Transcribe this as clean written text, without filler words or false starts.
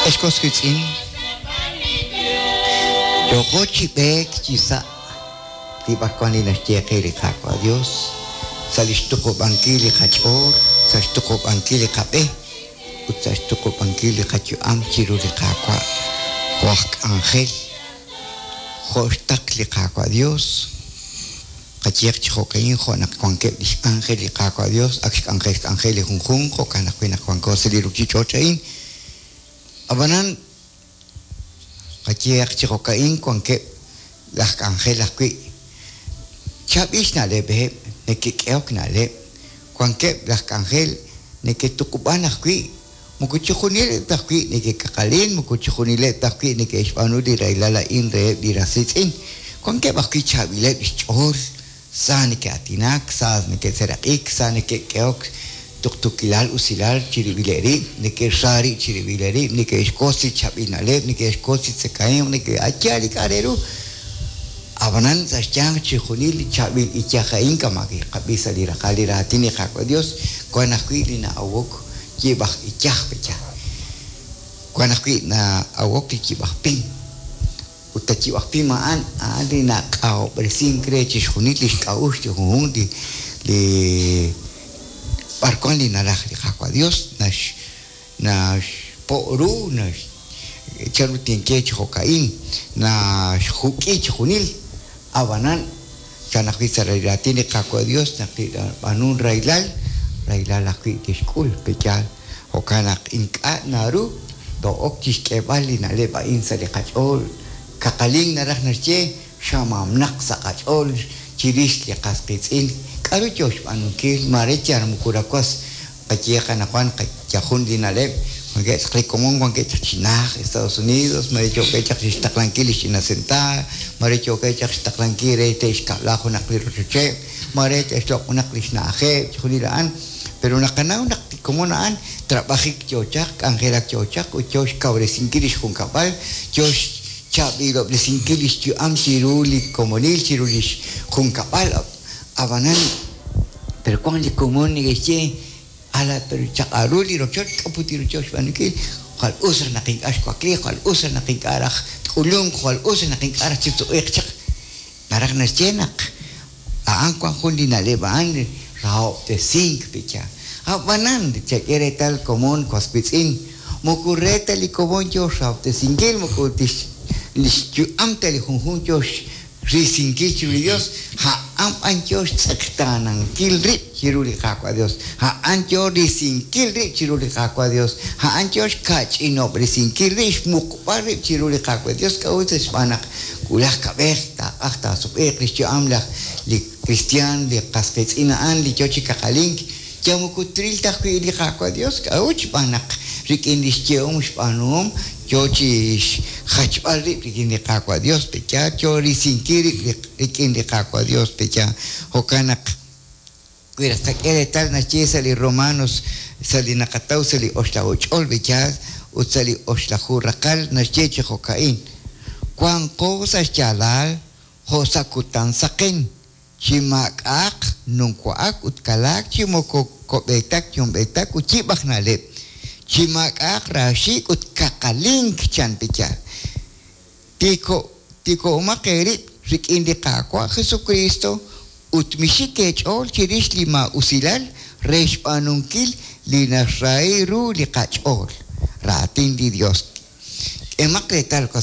Ex was wiitz'in, yooko chi b'eek chi sa' li b'arwan li naxye qe li Qaawa' Dios sa' lix tuqub'ankil li qach'ool, sa' xtuqub'ankil li qab'e, ut sa' xtuqub'ankil li qayu'am chiru li Qaawa' jo' aj k'anjel, jo' xtaql li Qaawa' Dios. Qayehaq chi jo'ka'in, jo' naq wankeb' lix anjel li Qaawa' Dios, ak xk'anjel xk'anjel li junjunq, jo'kan ajwi' naq wanko sa' li ruchich'och' a'in. Ab'anan, qayehaq chi jo'ka'in, wankeb' laj k'anjel ajwi' chaab'il xna'leb'eb', neke'k'ehok na'leb', wankeb' laj k'anjel neke'tuqub'an ajwi', moko chixjunileb' ta ajwi' neke'kaqalin, moko chixjunileb' ta ajwi' neke'xb'aanu li rahilal a'in reheb' li ras riitz'in. Wankeb' ajwi' chaab'ileb' xch'ool, sa neke'aatinak, sa neke'seeraq'ik, sa neke'k'ehok tuqtuukilal usilal chirib'ileb' rib', neke'xra rib' chirib'ileb' rib', neke'xwotz li chaab'il na'leb', neke'xwotz li tzakahemq, neke'ayaal li k'a' re ru. Ab'anan sa' xyanq chixjunil li chaab'il iyaj a'in kama' kiqab'i sa' li raqal li raatin li Qaawa' Dios, wan ajwi' li na'awok yib' aj iyaj pe'yaal. Wan ajwi' na'awok li yib' aj pim. Ut a yib' aj pim a'an, a'an li nak'ahob'resink re chixjunil lix k'a'uxl li junjunq li li b'arwan li naraj li Qaawa' Dios nax naxpo' ru, nax chanru tinye chi jo'ka'in, naxjuk'i chixjunil. Ab'anan, chan ajwi' sa' li raatin li Qaawa' Dios naq li nab'aanunk rahilal, rahilal ajwi' tixk'ul. Pe'yaal? Jo'kan naq ink'a' naru too'ok chixk'eeb'al li na'leb' a'in sa' li qach'ool. Kaqalink naraj naxye xamamnaq sa' qach'ool chirix li qas qiitz'in. K'a'ru yoo xb'aanunkil? Maare yal moko rawas Qayehaq anaqwan yal jun li na'leb', wankeb' chaq li komon wankeb' chaq chi najt Estados Unidos, mare yookeb' chaq chixtaqlankil lix ch'ina sentaar, mare yookeb' chaq xtaqlankil re te'xkab'la junaq li rochocheb', mare te'xloq' junaq lix na'ajeb', chixjunil a'an. Pero naqanaw naq li komon a'an trab'ajik yoo chaq, k'anjelak yoo chaq ut yoo xkawresinkil lix junkab'al, yoo xchaab'ilob'resinkil lix yu'am chiru li komonil, chiru lix junkab'al. Ab'anan, pero wank li komon neke'xye, Ala, pero chaq'al ru li rochoch, k'a put li rochoch xb'aanunkil? Jwal us raj naq ink'a' xwakliiq, jwal us raj naq ink'a' raj tk'ulunq, jwal us raj naq ink'a' raj chitzuq'iiq chaq. Naraj naxye naq a'an wank jun li na'leb' a'an rahob'tesink pe'yaal. Ab'anan, chak'e reetal komon was wiitz'in, moko re ta li komon yoo xrahob'tesinkil, moko tix li xyu'am ta li junjunq yoo Risinkil chiru li Yos, a'an b'an yoo xtz'eqtaanankil rib' chiru li Qaawa' Yos, a'an yoo risinkil rib' chiru li Qaawa' Yos, a'an yoo xka'ch'inob'resinkil rib', xmuqb'al rib' chiru li Qaawa' Yos. K'a'ut? Xb'aan naq wulaj kab'ej taaq'aj taasub'e'q lix yu'am laj li kristiaan, li qas qiitz'in a'an li yoo chi kaqalink, Yal moko tril ta ajwi' li Qaawa' Dios. K'a'ut? Xb'aan naq rik'in li xyehom xb'aanuhom yoo chi xjachb'al rib' rik'in li Qaawa' Dios, pe'yaal yoo risinkil rib' rik'in li Qaawa' Dios, pe'yaal. Jo'kan naq wi raj tqak'e reetal naxye sa' li Romanos sa' li naqataw sa' li oxlaju ch'ol, pe'yaal, ut sa' li oxlaju raqal naxye chi jo'ka'in, Wanqo sa' xyaalal jo' sa' kutan saqen, Chi maak'a'aq numwa'ak ut kalaak chi moko ko'b'eetak yumb'eetak ut yib' aj na'leb', chi maak'a'aq raaxiik' ut kaqalink, chan Piyaal. Tiiko'omaq eerib' rik'in li Qaawa' Jesukriist ut mixik eech'ool chirix li maa'usilal re xb'aanunkil li naxrahi ru li qach'ool. Raatin li Yos. K'ehomaq reetal, was.